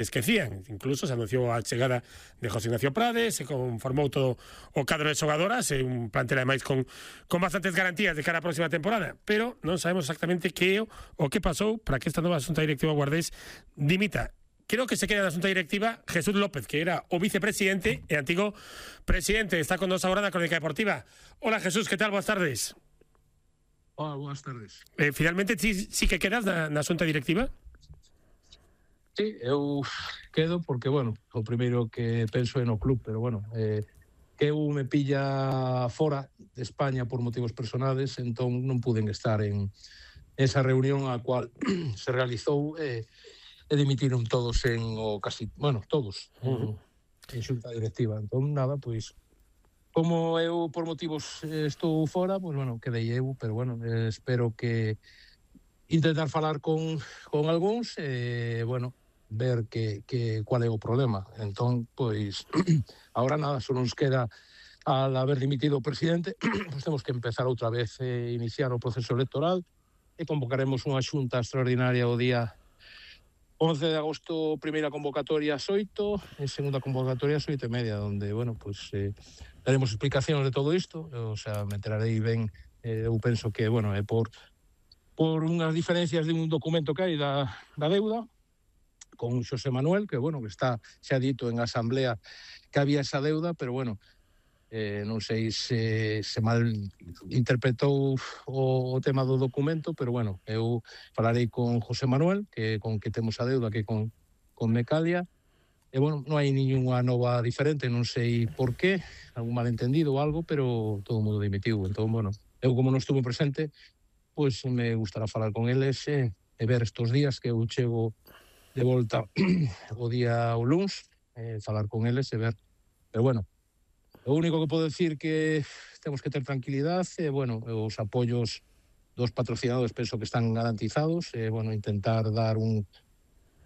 esquecían. Incluso se anunciou a chegada de José Ignacio Prades, se conformou todo o cadro de xogadoras, un plantel ademais con bastantes garantías de cara á próxima temporada, pero non sabemos exactamente que o que pasou para que esta nova xunta directiva Guardés dimita. Creo que se queda na xunta directiva Jesús López, que era o vicepresidente e antigo presidente. Está con nos agora na Crónica Deportiva. Hola Jesús, que tal? Boas tardes. Hola, buenas tardes. Finalmente sí que quedas na xunta directiva? Sí, eu quedo porque, bueno, o primeiro que penso é no club, pero, bueno, que eu me pilla fora de España por motivos personales, entón non puden estar en esa reunión a cual se realizou e dimitiron todos todos en xunta directiva. Entón, nada, pois, como eu por motivos estou fora, pois, bueno, quedei eu, pero, bueno, espero que intentar falar con algúns e, bueno, ver cuál é o problema. Entón, pois, agora nada, só nos queda, al haber dimitido o presidente, pois temos que empezar outra vez e iniciar o proceso electoral e convocaremos unha xunta extraordinaria o día 11 de agosto, primeira convocatoria ás 8 e segunda convocatoria ás 8:30, donde, bueno, pois daremos explicacións de todo isto, o sea, me enterarei ben, eu penso que, bueno, é por unhas diferencias de un documento que hai da deuda, con Xosé Manuel, que, bueno, que está xa dito en asamblea que había esa deuda, pero, bueno, non sei se mal interpretou o tema do documento, pero, bueno, eu falarei con José Manuel, con que temos a deuda, que con Mecalia, e, bueno, non hai ninguna nova diferente, non sei por qué, algún malentendido ou algo, pero todo o mundo dimitiu. Entón, bueno, eu como non estuve presente, pois me gustará falar con eles e ver estes días que eu chego de volta o día o luns, falar con eles e ver. Pero, bueno, o único que podo decir que temos que ter tranquilidade e, bueno, os apoios dos patrocinadores penso que están garantizados e, bueno, intentar dar un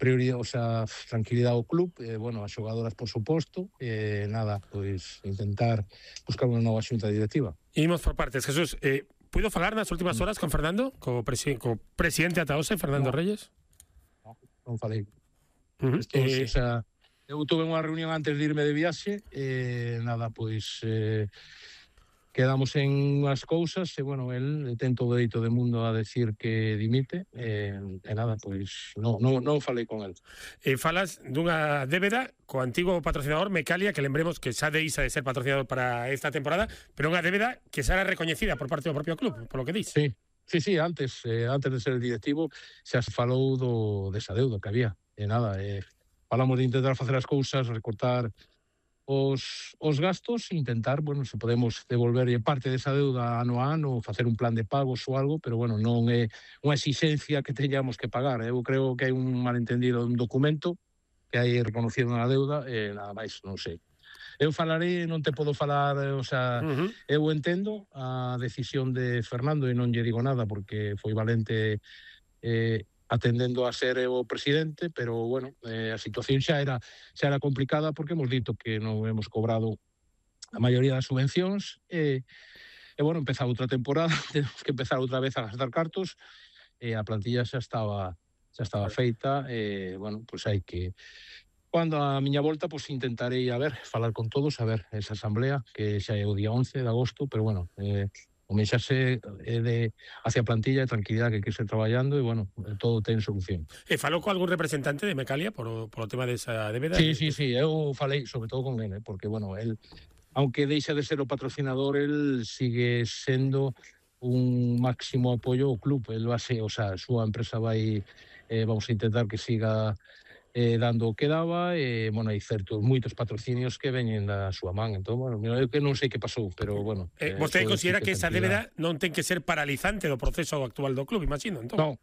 prioridade, o sea, tranquilidade ao club e, bueno, as xogadoras, por suposto, e nada, pois intentar buscar unha nova xunta directiva. Imos por partes. Jesús, puido falar nas últimas horas con Fernando, co presidente ata hoxe, Fernando Reyes? Non falei. O sea, eu tuve unha reunión antes de irme de viaxe e nada, pois quedamos en unhas cousas e, bueno, el ten todo o dereito do mundo a decir que dimite e nada, pois non falei con el. Falas dunha débeda co antigo patrocinador Mecalia, que lembremos que xa deixa de ser patrocinador para esta temporada, pero unha débeda que será recoñecida por parte do propio club, por lo que dis. Sí, antes de ser directivo xa se falou desa deuda que había. E nada, falamos de intentar facer as cousas, recortar os gastos, intentar, bueno, se podemos devolver parte desa deuda ano a ano, facer un plan de pagos ou algo, pero, bueno, non é unha exigencia que teñamos que pagar. Eu creo que hai un malentendido, un documento que hai reconocido na deuda e nada máis, non sei. Eu falarei, non te podo falar, o sea, eu entendo a decisión de Fernando e non lle digo nada porque foi valente atendendo a ser o presidente, pero, bueno, a situación xa era complicada porque hemos dito que non hemos cobrado a maioría das subvencións e bueno, empezar outra temporada, temos que empezar outra vez a gastar cartos e a plantilla xa estaba feita e, bueno, pois hai que... Cando a miña volta, pois intentarei falar con todos, esa asamblea, que xa é o día 11 de agosto, pero, bueno, o mensaxe é hacia a plantilla e tranquilidade que quise traballando e, bueno, todo ten solución. Falou con algún representante de Mecalia por o tema desa débeda? Sí, eu falei sobre todo con ele, porque, bueno, el, aunque deixa de ser o patrocinador, el sigue sendo un máximo apoio ao club. El va a ser, o sea, a súa empresa vai, vamos a intentar que siga dando o que daba e, bueno, hai moitos patrocinios que veñen da súa man. Entón, bueno, eu que non sei que pasou, pero, bueno... Vostede considera que esa débeda non ten que ser paralizante do proceso actual do club, imagino, entón? Non.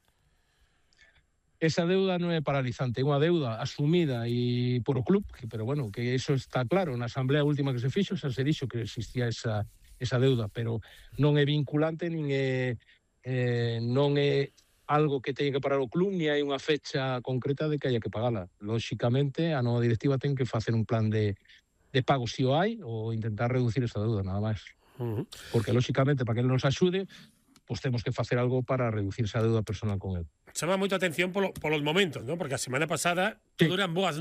Esa deuda non é paralizante, é unha deuda asumida e por o club, pero, bueno, que iso está claro. Na asamblea última que se fixo xa se dixo que existía esa deuda, pero non é vinculante, non é algo que teña que parar o club, ni hai unha fecha concreta de que haya que pagala. Lóxicamente, a nova directiva ten que facer un plan de pago si o hai, ou intentar reducir esa deuda, nada máis. Porque, lóxicamente, para que ele nos axude, pois temos que facer algo para reducir esa deuda personal con ele. Chama moito a atención polos momentos, ¿no? Porque a semana pasada todo eran boas novas.